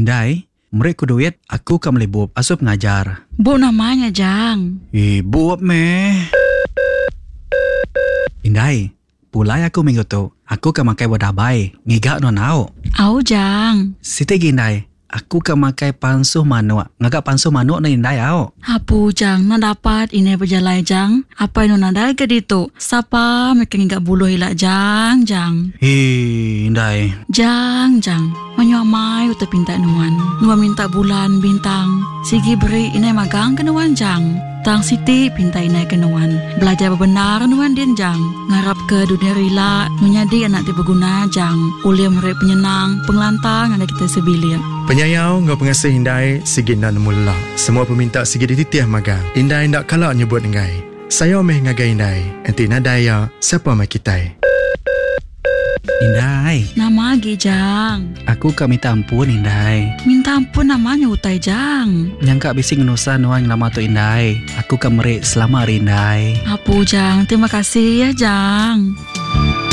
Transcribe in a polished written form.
Indai, meri ku duit, aku ka meli bup asuh pengajar. Bup nama nya Jang? Eh, bup meh. Indai, pulai aku minggu tu, aku ka makai buah dabai, ngiga nuan au. Au Jang. Siti gi indai, Aku ka makai pansuh manuk. Ngaga pansuh manuk ne indai au. Apu jang enda dapat indai bejalai jang. Apai nuan nadai ga ditu. Sapa meh ke ngiga buluh ila jang jang. Hii indai. Jang jang. Mayuh amai utai pinta nuan. Nuan minta bulan bintang. Sigi beri indai magang ke nuan jang. Tang siti pinta indai ke nuan. Belajar bebendar nuan din jang. Ngarap ke dunya rila menyadi anak ti beguna jang ulih meri penyenang, pengelantang ngagai kitai sebilik. Penyayau enggau pengasih indai sigi enda nemu lelak. Semua peminta sigi dititih magang. Indai enda kala nyebut enggai. Sayau meh ngagai indai. Enti nadai iya, sapa meh kitai. Indai. Nama agi jang? Aku ka minta ampun indai. Minta ampun nama nya utai jang? Nyangka bisi ngenusah nuan ngelama tu indai. Aku ka meri selama ari indai. Apu jang, terima kasih ya jang.